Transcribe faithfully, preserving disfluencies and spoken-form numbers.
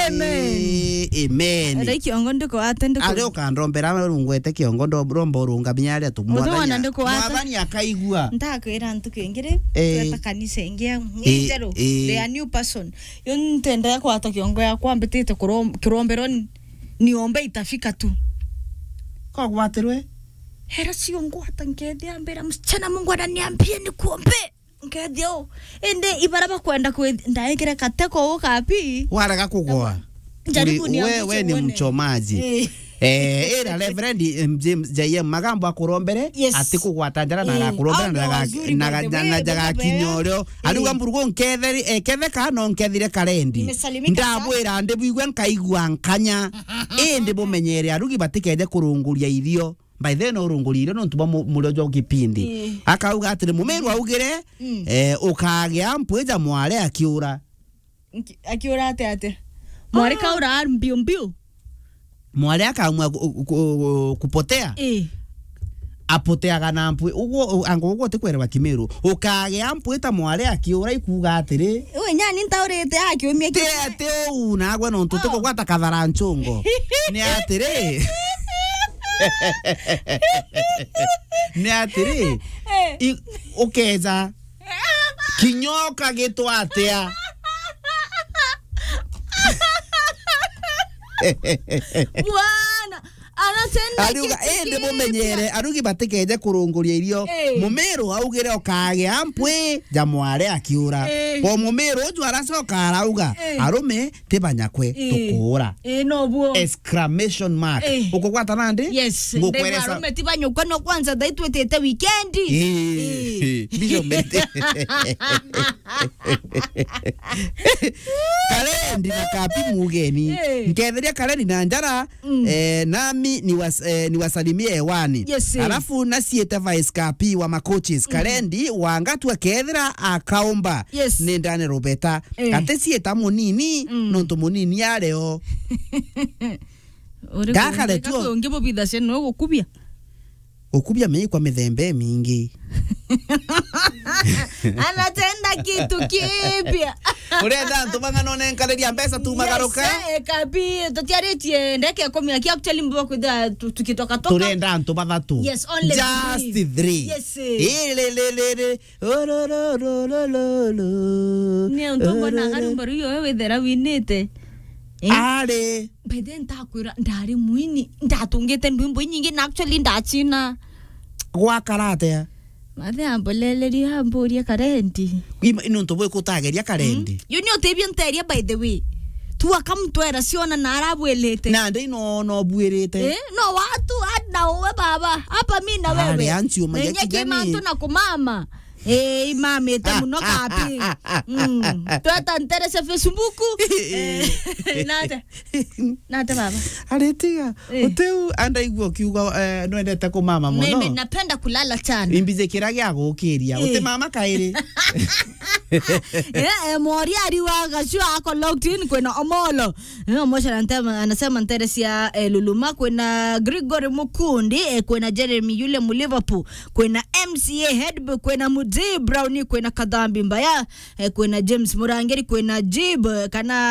Amen. Eh, amen. Ari kiongo ndiko ate ndiko. Ari ukandombera rungwete kiongo ndo-, romba urungaminya aria tu. Mwathani, Mwathani akaigua. Ndakwira ntuku ingiri, eh, tweta kanisa ingi, eh, njeru, eh, they are new person. Yo ntendea kwata kiongo ya kwambitite kurom-, kirombero ni, niombe itafika tu. Kogwatirwe? Hera cio ngwata nkethia mbira, "Msichana, Mungu ananiambia nikuombe." Nkethia u. Indi ibara bakwenda kwi-, ndaikire kateko u kapi. Warega kugwa. Njaribu. Uri-, ni we, we ni mchomaji. Eh. Eh, ira Reverend, em, James J M Magambo akurombere, yes, ati kugwata njara na, eh, agakurombera na ndaga-, na, na, na ndagakinya urio. Ariuga mburugu nketheri-, eh, ketheka no nkethire karendi. Nimesalimika sana. Ndabwira ndi bwigwe nkaigua nkanya. Indi bumenyere arugi batikeje kurunguria irio. By then urungurire nontu bwa mu-, murio jwa kipindi. Ii. Akauga atiri, Mumiru augire, mm, eh, ukagia mpwi ja mware akiura. Nki-, akiura ate ate? Mware kaura mbiu mbiu. Mware akaamua ku-, ku-, ku-, kupotea. Ii. Apoteaga na mpwi. Uguo, u-, ango uguo ti kwerewa Kimiru. Ukagia mpwi ta mware akiura ikuuga atiri, Uwe nyani ntaurite akiumia. Ti ati uu nagwe nontu, oh, tikugwata kathara nchungo. Ni atiri. Ni atiri. Eh. I-, ukeja. Kinyoka gitwa atia? Bwana, anatenda. Ariuga, kitu indi kipya. Mumenyere, arugi batikeje kurunguria irio. Eh. Mumiru augire ukagia mpwi ja mware akiura. Eh. O Mumiru uju aracoka arauga, eh, arume ti banyakwe, eh, tukuura. Eh, no buo. Exclamation mark. Eh. Ukugwata nandi? Yes. Ngukweresa. Ndegwa arume ti banyakwe, no kwanza thaitwitite weekend. Eh. Eh. Bishop Mete. Karendi na Kapi mugeni. Eh. Nketheria Karendi na njara, mm, eh, nami ni was-, eh, niwasalimie hewani. Yes, eh. Alafu naciete Vice Kapi wa Makochis. Mm. Karendi wanga tu akethira akaomba. Yes. Ni ndane rubeta. Eh. Ati cieta munini, mm, nontu munini areo. Uri gakare kungi, tuo. Ungi bubithacia no gukubia. Ukubia miikwa mithemba imingi. Anatenda kitu kipya. Urenda antu bang'ana unenkariria mbeca tu magaruka? Yes, eh, Kapi, tutiaritie ndeke ikumi aki actually mbo kwithira tu-, tukitoka toka. Turenda antu bathatu. Yes, only just three. Three. Yes, eh. Iri, ri, ri, ri. Ororororororo. Ni untu mbona akarumba ruyo we withera winite. Eh? Ari. By then ntakwira ndari mwini, ndatungite ndwimbo inyingi na actually ndachina. Gwakara atia? Mathe amboleleria amburia Karendi. Ima, ni untu bwiku utageria Karendi? Mm. Yu ni utibio nteria by the way. Tu akamtwera ciona na arabwirite. Na ndi no, no bwirite. Eh, no watu, hata na uwe baba. Hapa mi na wewe. Ari, anchi umagia. Nenye kijani. Kimantu na kumama. Eh, imamite muno Kapi. Mm. Tweta ntere cia Facebook. Eh, nate. Nate baba. Aritiga. Eh. Utiu andaigua ukiuga, eh, nwendete kumama muno. Mimi napenda kulala sana. Imbize kira gia gukiria. Eh. Uti mama kairi. Eh, eh, Moriari wa Gacua ako locked in kwina Omolo. Eh, Omosha anasema, anasema ntere cia, eh, Luluma, kwina Gregory Mukundi, eh, kwina Jeremy yule mu Liverpool, kwina M C A Headboy, kwina Mudi Brown, kwina Kadhambi Mbaya, eh, kwina James Murangiri, kwina Jib, eh, kana